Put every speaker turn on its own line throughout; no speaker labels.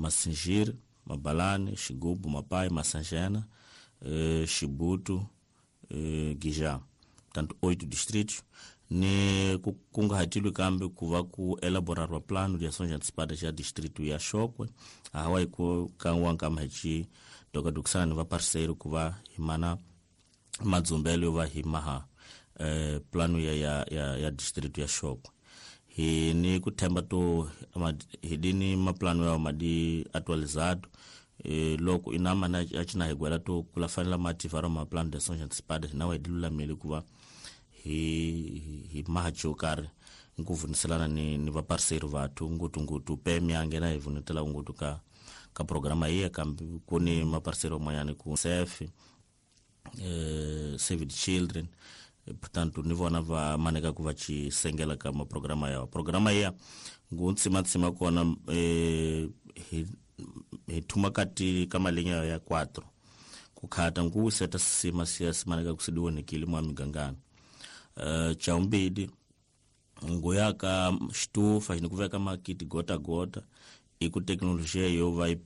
Massingir, Mabalane, Xigubo, Mapai, Massangena, Chibuto, Guijá. Portanto, 8 distritos. Ni kungahatilwe kambe ku va ku elaborarwa plano de ações antecipadas ya distrito ya Chókwè hawa hi ku kan'wa nkama hi ci dokadokisana ni va parceiro ku va hi mana madzumbelo yo va hi maha plano ya distrito ya Chókwè. Hi ni ku themba to hi dini maplano ya madi atualizado loko inama na ya cina hi gwela to kula fanela mativaro ma plano de ações antecipadas na wa hi lulamile ku va hi maha karhi nku vuniselana ni va parceiro vathu ngutu PMA ngena hi vunetela ngutu ka programa iya kambe ku ni ma parceiro man'wanyana ku SEF, Save the Children, portanto ni vona va maneka ku va ci sengela ka ma programa yawa. Programa iya ngu ntsima kona hi thuma kati ka malinya ya 4 ku khata ngu seta sima siya simaneka ku sidiwonekile mwa migangana. Chaumbidi nguya ka xitufa ni ku veka makiti gota gota i ku teknolojia yo va yi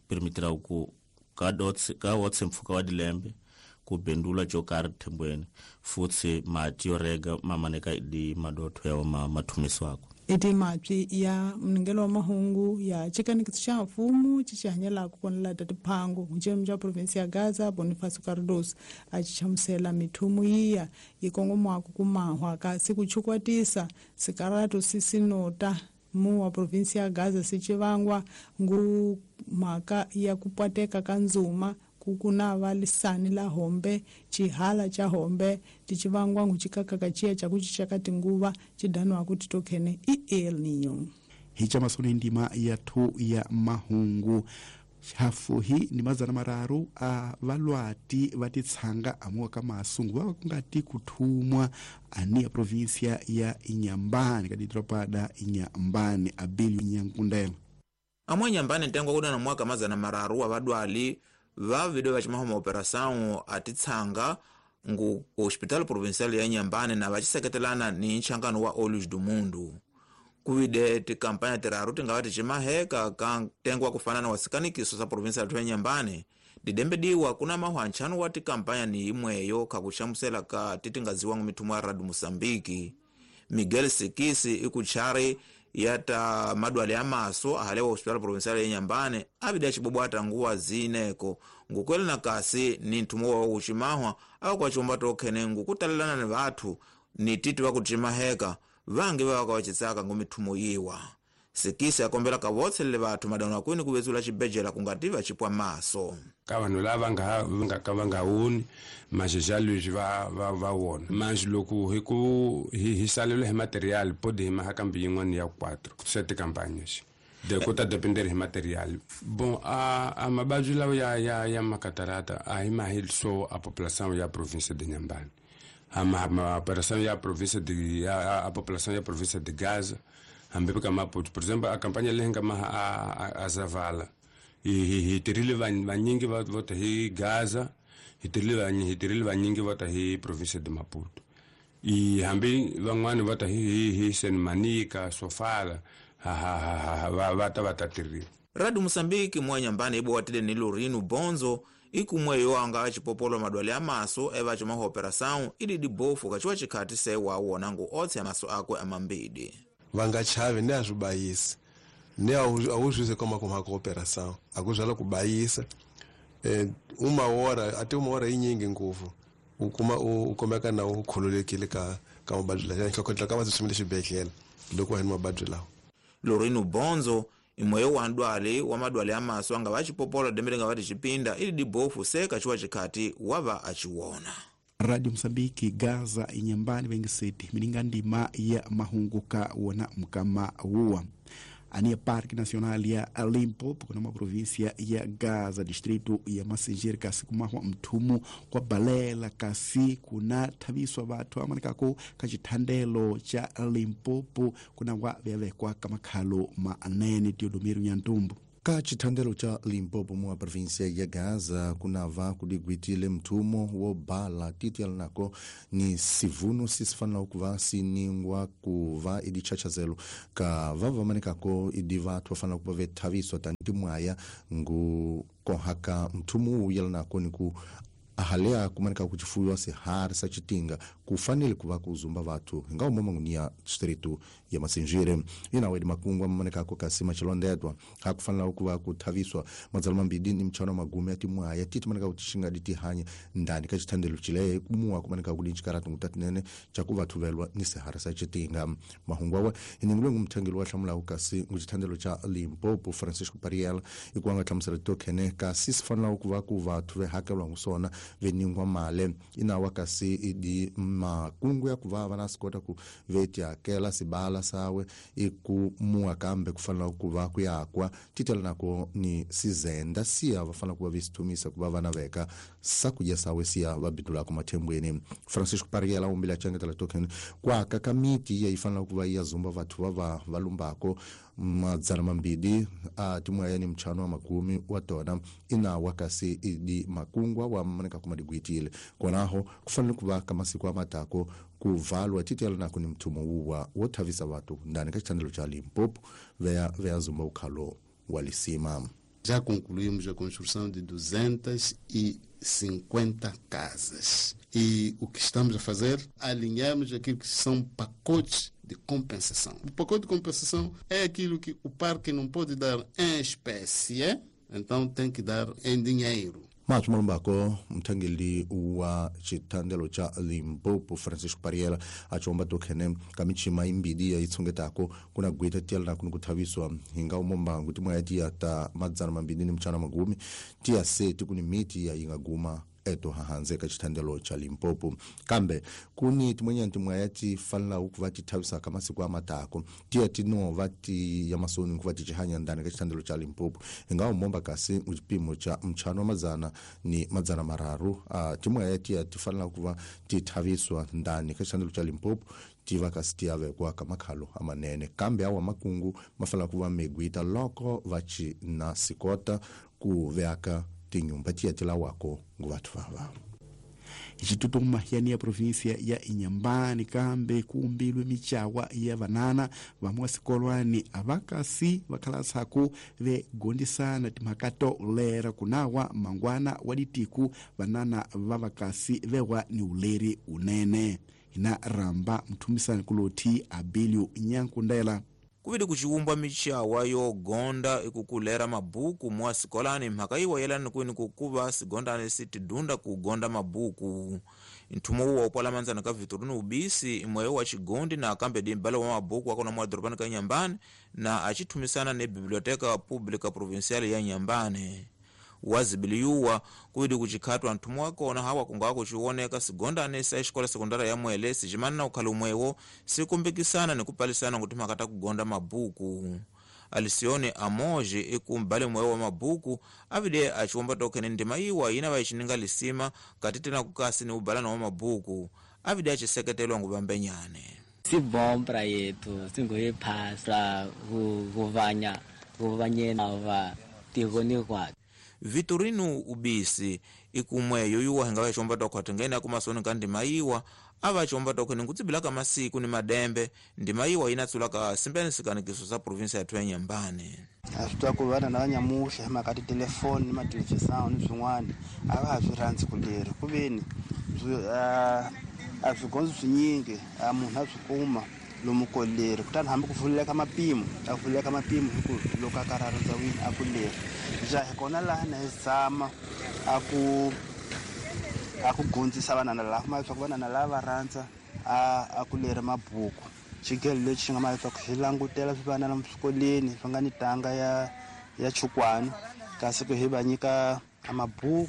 permitira ku ka dots ka wotse mpfhuka wa dilembe ku bendula xo karhi thembweni futsi mati yo rega mamaneka di madotho ya mathumiswako.
Iti mapyi ya mningelo wa mahungu ya chikanikiso xa mfumo xi xi hanyelaka kona la Tatiphango ncemu xa provinsi ya Gaza Bonifacio Cardoso a xi hlamusela mithumu yiya yi kongomaka ku mahwa kasi ku chukwatisa sikaratu sisinota mu wa provinsi ya Gaza si chivangwa ngu mhaka ya ku pwateka ka ndzuma kukuna va lisani la hombe chihala cha hombe tichivangwa nguchikakaka chiya chakuchichaka tinguva chidanwa kuti tokhene i El Niño.
Hicha masoni ndima ya thu ya mahungu hafu hi ni mazana mararu a valwati va titshanga amuwa ka masungu va kungati kuthumwa ani ya provinsia ya Inhambane ka didropa da Inhambane Abelio Nyankundela.
Amwe Inhambane ntengo kudana mwaka mazana mararu wa vadwali va video va chimahoma operação atitsanga ngu Hospital Provincial ya Inhambane na vachiseketelana ni nchangano wa Olhos do Mundo. Kuvide tikampanya tiraru tingava tichimaheka ka ntengo wa kufanana wa sikanikiso sa provinsia ya Inhambane didembediwa kuna mahwa nchanu wa tikampanya ni imweyo kakuchamusela ka titingaziwa mithumo ya Radio Moçambique. Miguel Sikisi ikuchari yata madwale ya maso ahalewa Hospital Provincial ya Inhambane abida chibobwata nguwa zineko ngukwele na kasi ni nthumo wa uchimahwa au kwa chomba tokhene ngukutalelana ni vathu ni titi vakuchimaheka vangi vavakawachitsaka ngumithumo yiwa. Sikisi akombela kavotselele vathu madano akwini kuvezula chibejela kungativa chipwa maso.
Ka vanhu lava nga ka va nga woni maxexa leswi va wona manji loko hi ku hi salelo hi material podi hi maha kambe yin'wana ya 4 sete campagnes de ku ta depender hi material bon a mababyi lawa ya makatarata a hi mahi so a population ya province de Inhambane a operação ya província de a população ya província de Gaza hambi ka Maputo por exemplo a campanha leyi nga maha a Zavala hi tirhile vanyingi va vota hi Gaza hi tirhile vanyingi vota hi província de Maputo i hambi van'wani vota hi Senmanica Sofala va ta va ta tirhile.
Radio Moçambique mwa Inhambane ibowatile ni Lorino Bonzo ikumwe yo anga achipopolo madwale ya maso eva chuma operação ili dibofu kachiwa chikhati sewa wona ngu otse maso akwe amambidi.
Vanga chave ne azubayisa ne awuzwize koma kuma cooperação akuzvala kubayisa uma hora até uma hora inyingi nguvu ukuma ukomeka na ukhululekile ka mabadzi lawa ka ka va xibedhlele loko hi mabadzi lawa.
Lorino Bonzo imweyo wa ndwale wa madwale ya maso anga vachipopola dembele nga vati chipinda ili dibofu seka chiwa chikhati wava achiwona.
Radio Mozambique Gaza Inhambane vengiseti mininga ndima ya mahungu ka wona mukama wuwa ani Parque Nacional ya Limpopo kuna província ya Gaza distrito ya Massingir kasi kumahwa mthumu kwa balela kasi kuna thaviswa vathu amanikako ka chithandelo cha Limpopo kuna wa vyavekwa ka makhalo manene Teodomiro Nyantumbu.
Ka chithandelo cha Limpopo mwa província ya Gaza kunava kudigwitile mthumo wo bala titi alinako ni sivuno sisifanela kuva siningwa kuva idichachazelo ka vavamanikako idi vathu vafanela kuva vethaviswa tanti mwaya ngu kohaka mthumo uwu yalinako ni ku ahalea kumanika kuchifuyiwa sihari sa chitinga kufanele kuva kuzumba vathu hinga umoma ngunia distritu ya Masinjire. Inawe di makungwa mamanikako kasima chilondedwa hakufanela kuva kuthaviswa madzalo mambidi ni mchano magumi ati mwaya titi manika kutishinga ditihanya ndani ka chithandelo chile kumuwa kumanika kudinchikaratu ngutatinene chakuvathuvelwa ni sihari sa chitinga. Mahungu awa iningulwe ngumthangeli wa hlamulaku kasi nguchithandelo cha Limpopo Francisco Pariela ikuwa nga hlamusela tokhene kasi sifanela kuva ku vathu vehakelwa ngusona veningwa male inawa kasi idi makungu ya kuva vana sikota ku vetiakela sibala sawe ikumua kambe kufanela kuva kuyakwa titela nako ni sizenda siya vafanela kuva visithumisa kuva vana veka sakudya sawe siya vabidulako mathembweni. Francisco Pariela umbile achangetela token kwaka kamiti iya ifanela kuva iyazumba vathu vava valumbako madzana mambidi a timwaya ni mchano wa makumi wa tona inawa kasi idi makungwa wa manika kumadigwitile konaho kufanele kuva kamasiku amatako kuvalwa titela nako ni mthumo wuwa wothavisa vathu ndani ka chithandelo cha Limpopo veya zumba ukhalo wa lisima.
Já concluímos a construção de 250 casas. E o que estamos a fazer? Alinhamos aquilo que são pacotes de compensação. O pacote de compensação é aquilo que o parque não pode dar em espécie, então tem que dar em dinheiro.
Mathu malumbako mthangeli wa chithandelo cha Limpopo Francisco Pariela achomba tokhene kamichima imbidi ya itsongetako kuna gwita tiyala nako nikuthaviswa hinga umombangu timwaya tiya ta madzana mambidi ni mchana magumi tiya seti kuni miti ya ingaguma eto hahanze ka chithandelo cha Limpopo. Kambe kuni timwenyani timwaya tifanela ukuva tithavisaka masiku amatako tiya tinova ti ya masoni kuva tichihanya ndani ka chithandelo cha Limpopo ingawa momba kasi chipimo cha mchano wa madzana ni madzana mararu timwaya tiya tifanela kuva tithaviswa ndani ka chithandelo cha Limpopo tiva kasi tiyavekwa ka makhalo amanene kambe awa makungu mafanela kuva megwita loko vachi na sikota ku veaka tinyumba tiya tilawako nguvathu vava.
Icitutuma yani ya província ya Inhambane kambe kuumbilwe michawa ya vanana vamwe sikolwani avakasi vakhalasako vegondisana timhakato lera kunawa mangwana wa ditiku vanana va vakasi vewa ni uleri unene. Ina ramba mthumisani kuloti Abilio Nyankundela.
Kuvili kuchiumbwa michawa yogonda ikukulera mabuku mwa sikolani mhaka iwa yelani kwini kukuva sigondani sitidunda kugonda mabuku. Nthumo uwa upwala manzana ka Vitorino Ubisi imweyo wa chigondi na akambe dimbala wa mabuku akona mwa doropani ka Inhambane na achithumisana ne Biblioteca Pública Provincial ya Inhambane. Wazibiliyuwa kuvili kuchikhatwa nthumo wakona hawa kunga kuchioneka sigondane sa xikola sekondara ya Mwele sicimana na ukhala umwewo sikumbikisana ni kupalisana kuti makata kugonda mabuku. Alisione Amoje ikumbale mwewo wa mabuku avile achiwomba tokhene ndima iwa yina vayichininga lisima kati tena kukasi ni ubalana wa mabuku avile achiseketelwa nguvambenyane.
Si bom pra yetu singoyiphasa kuvanya kuvanyena va tikoni kwakhe.
Vitorino Ubisi ikumweyo yuwa hinga vachomba tokhwatha ngene akumasoni ka ndima iwa avachomba tokhene nkutsibilaka masiku ni madembe ndima iwa yinatsulaka simbene sikanikiso sa província yathu ya Inhambane.
A swi twa ku vana na vanyamuhla hi mhaka titelefoni ni mathelevhizani ni swin'wana a va ha swi rhandzi ku leri kuveni a swigondzo swinyingi a munhu a swi kuma lomu ko leri kutani hambi ku vuleka mapimo a vuleka mapimo hi ku loko a karhi a rhandza wini a ku leri ja hi kona laha na hi zama a ku gondzisa vanana lava kuma leswaku vanana lava va rhandza a ku leri mabuku. Xigelo lexi xi nga ma leswaku xi langutela swivanana swikolweni swi nga ni tanga ya chukwani kasi ku hi va nyika mabuku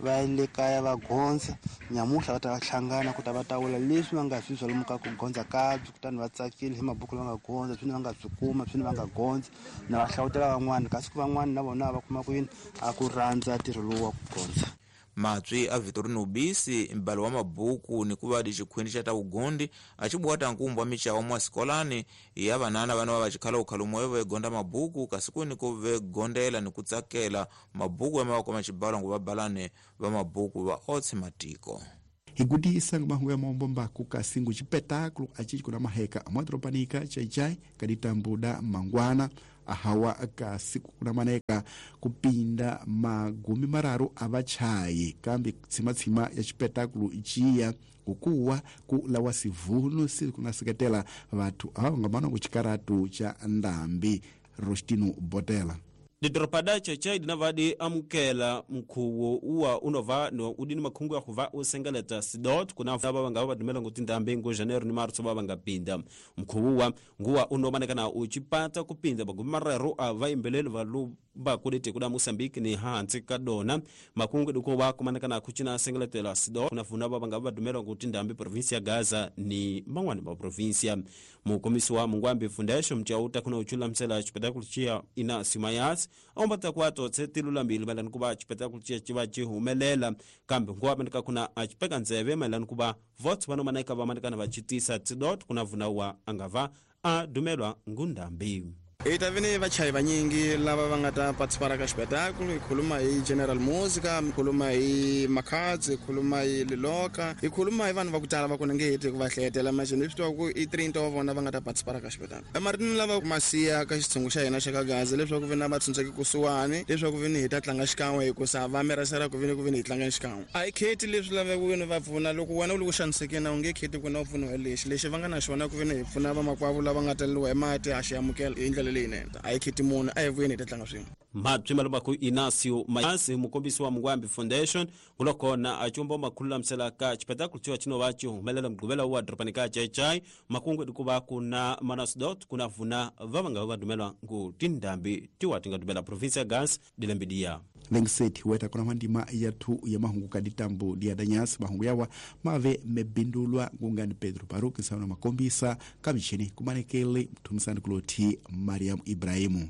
va ya le kaya va gondza nyamuhla va ta va hlangana ku ta va tawula leswi va nga swi zwa lomu ka ku gondza kabyi kutani va tsakile hi mabuku lama nga gondza swini va nga swi kuma swini va nga gondza na va hlawutela van'wana kasi ku van'wana na vona va kuma ku yini a ku rhandza ntirho lowu wa ku gondza.
Matswi a Vitorino Ubisi mbalo wa mabuku ni kuva di xikhwini xa ta vugondi a xi buwata nkumbu wa micawa mwa sikolani ya vanana vana va vacikhala ukhalumwe ve gonda mabuku kasi kuni ku ve gondela ni ku tsakela mabuku ya mavako xibalo ngu vabalane va mabuku va otse matiko.
Higudisa mahungu ya maombo mbaku kasingu chipetáculo achichi kuna maheka amwadropanika chaichai kaditambuda mangwana ahawa kasiku kuna maneka kupinda magumi mararu avachayi kambi tsimatsima ya chipetáculo ichiya kukuwa kulawa sivunu sikunaseketela vathu ava vangamana kuchikaratu cha ndambi. Rostino Botela.
Didoropada chaichai dinavadi amukela mkhuwo uwa unova no udini makhungu ya kuva usengeleta sidot kuna va vanga va dumela ngoti ndambi ngo janeiro ni martso va vanga pinda mkhuwo uwa nguwa unomanekana uchipata kupinda magumi marero a vaimbeleli va lumba kudete kuda Mozambique ni hansi ka dona makhungu diko va kumanekana kuchina sengeletela sidot kuna vuna va vanga va dumela ngoti ndambi provinsia ya Gaza ni man'wani ma provinsia. Mukomisi wa Mungwambi Foundation mchauta kuna uchula msela chipetakulu chia ina simayas ombata kwato tsetilulambili maelana kuva chipetakulu chia chiva chihumelela kambe nguwa manika kuna achipeka nzeve maelana kuva votes vanomaneka vamanikana vachitisa tsidot kuna vunawa angava adumelwa ngundambi.
Itavini vachayi vanyingi lava va nga ta participara ka xipetáculo. Hi khuluma hi General Musica, hi khuluma hi Makhadzi, hi khuluma hi Liloka, hi khuluma hi vanhu va ku tala va ku ni nge heti ku va hlayetela maxini leswi tiva ku i 30 wa vona va nga ta participara ka xipetáculo. Emaritini lava ma siya ka xitshungu xa hina xa ka Gaza leswaku vi na va tshunxeki kusuhani leswaku vi ni hi ta tlanga xikan'we hikusa va mirasela ku vi ni ku vi ni hi tlanga xikan'we. A hi kheti leswi laveka ku vi ni va pfuna loko wena u le ku xanisekeni a wu nge kheti ku na u pfuniwa hi lexi lexi va nga na xona ku vi ni hi pfuna vamakwavo lava nga taleriwa hi mati a xi amukela hi ndlela leyinene. A hi kheti munhu a hi vuyeni hi ta tlanga swin'we.
Mabyi malombaku Inacio Mayasi mukombisi wa Mungwambi Foundation ngulokona achomba makhululamisela ka chipetakulu chiwa chinova chihumelela mugqivela wa doropani ka Chaichai makungu dikuva kuna manasdot kuna vuna vavanga va dumelwa ngu tindambi tiwa tinga dumela provinsia ya Gaza dilembidiya.
Lengseti weta kuna mandima yathu ya mahungu kaditambo diadanyasi mahungu yawa mave mebindulwa ngungani Pedro Baruki nsana makombisa kamichini kumanekele mthumisani kuloti Mariam Ibrahimu.